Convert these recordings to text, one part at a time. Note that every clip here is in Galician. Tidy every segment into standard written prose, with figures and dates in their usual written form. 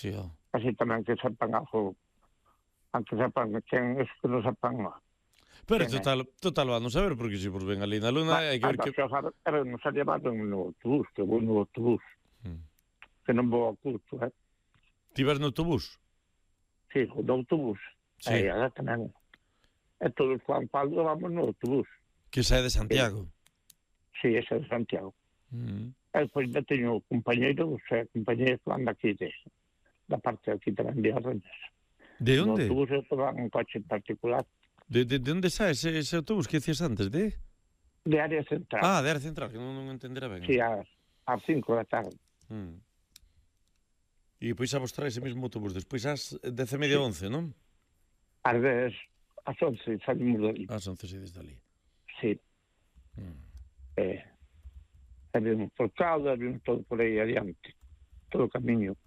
Sí, Así tamén que sepan algo, aunque sepan quen es que non sepan pero quen é. total van a saber, porque se pues ven ali na luna hai que ver que... Nos a llevar no autobús, que vou no autobús, que non vou ao curso, Ti vas no autobús? Sí, o do autobús. Sí. Agora tamén. E todos Juan Pablo vamos no autobús. Que sae de Santiago. Sí, ese de Santiago. E depois já teño compañeiros, compañeiros que van daqui da parte aquí tamén de Arrenes. De onde? No autobús eu van un coche en particular. De onde sae ese autobús que decías antes, de? De área central. Ah, de área central, que non entenderá ben. Sí, ás 5 da tarde. E depois a vos trae ese mesmo autobús, despois ás 10:30, 11, non? Ás 11 salimos dali. Ás 11 saídes dali. Sí. Vimos por Caldas, vimos todo por aí adiante. Todo o camiño.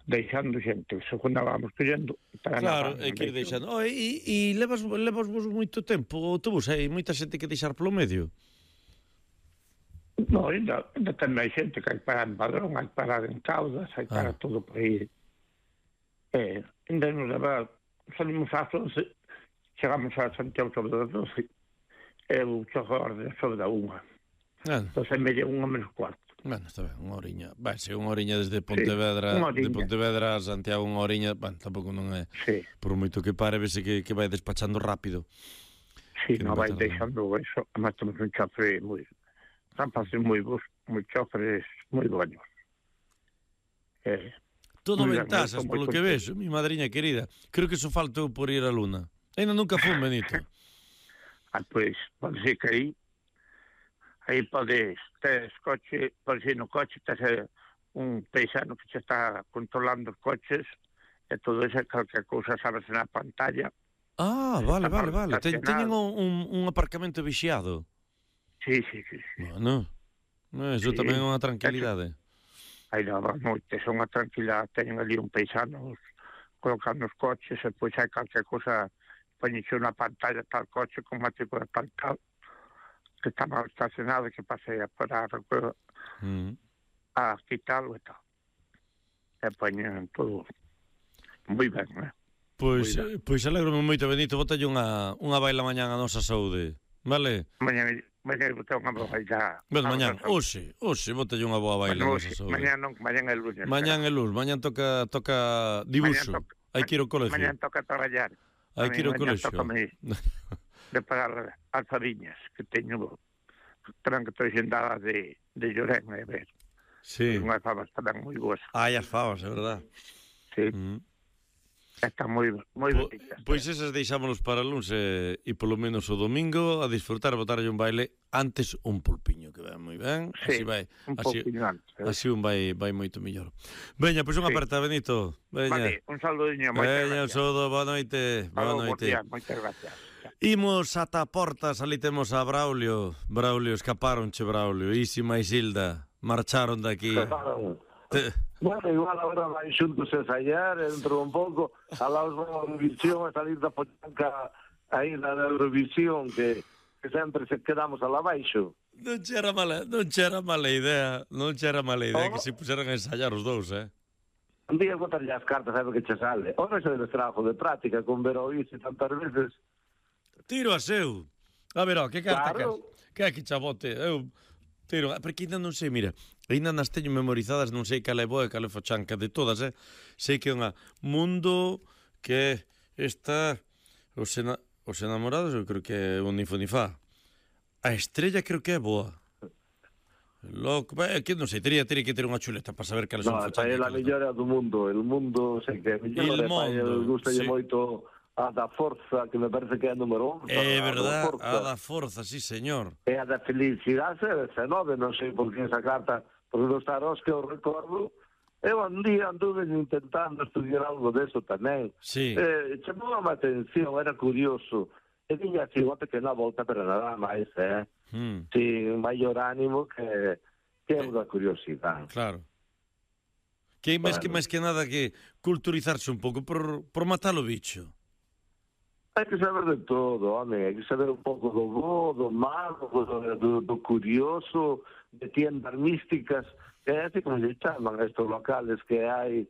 Deixando xente, según vamos collendo. Claro, é que ir deixando. E levas vos moito tempo o autobús? Hai moita xente que deixar polo medio? No, ainda ten máis xente que hai que parar en Padrón, hai que parar en Caldas, hai que parar todo por aí. Ainda nos leva, salimos ás 11, chegamos a Santiago sobre as 12, e o chofer sobre a 1. Entón, media 1 menos cuarto. Bueno, está ben, unha horiña. Vai ser unha horiña desde Pontevedra, de Pontevedra a Santiago, unha horiña, bueno, tampouco non é, por moito que pare, vese que vai despachando rápido. Sí, non vai deixando eso, además temos un chofer moi, están facendo moi bons, moi choferes moi buenos. Todo ventasas, polo que vexo, mi madriña querida. Creo que só faltou por ir á Luna. Ainda nunca fun, Benito. Pois, pode ser que aí podes, tes coche, podes ir no coche, tes un paisano que se está controlando os coches, e todo eso, calquer cousa sabes na pantalla. Vale. Teñen un aparcamento vixiado. Sí. Bueno, eso tamén é unha tranquilidade. Aí non, son unha tranquilidade, teñen ali un paisano colocando os coches, e depois hai calquer cousa, poñense unha pantalla tal coche con matrícula tal, que está mal estacionado, que pase a parar a quitalo e tal. E poñen todo moi ben, Pois alegro-me moito, Benito, botalle unha baila mañán a nosa saúde, vale? Mañán botar unha boa baila. Bueno, mañán, hoxe botalle unha boa baila a nosa saúde. Mañán é lunes. Mañán é lunes, mañán toca dibuixo, hai que ir ao colegio. Mañán toca traballar. Hai que ir ao colegio. De pagar as fariñas que teño, que estou xendada de Llorén, a ver. Sí. Unhas fabas tamén moi boas. As fabas, é verdad. Sí. Están moi bonitas. Pois esas deixámonos para o lunes e polo menos o domingo a disfrutar, botarlle un baile antes un pulpiño, que vai moi ben. Sí, un pulpiño antes. Así un vai moito mellor. Veña, pois unha aperta, Benito. Vale, un saludiño. Veña, un saludo, boa noite. Boa noite. Moitas gracias. Imos ata portas, ali temos a Braulio. Braulio, escaparonche, Braulio. Isima e Silda marcharon daqui. Bueno, igual agora vai xuntos a ensayar, dentro un pouco, alaos da Eurovisión, a salir da pochanca aí da Eurovisión, que sempre se quedamos alá baixo. Non chera mala idea que se puseran a ensayar os dous, Un día botarlle as cartas, sabe que che sale. O non se debe trabajo de práctica, con ver o iso tantas veces. Tiro a seu. A ver, que carta que que chabote. Eu tiro, porque ainda non sei, mira, ainda nas teño memorizadas, non sei cal é boa e cal é fochanca de todas, sei que é unha mundo que está os enamorados, eu creo que é un Nifonifá. A estrella creo que é boa. Loco, que non sei, teria que ter unha chuleta para saber cales son fochanca. Non, é a mellora do mundo, el mundo sei que é mellor, gustalle moito a da Forza, que me parece que é a número 11. É verdad, a da Forza, sí, señor. E a da Felicidade é 19, non sei por que esa carta, porque dos tarós que eu recordo, eu un día anduve intentando estudiar algo deso tamén. Sí. Chamou a atención, era curioso. E tiña así unha pequena volta, pero nada máis, sin maior ánimo que é unha curiosidade. Claro. Que máis que nada que culturizarse un pouco por matar o bicho. Hai que saber de todo, home, hai que saber un pouco do bo, do malo, do curioso, de tiendas místicas, que é así como se chaman estos locales que hai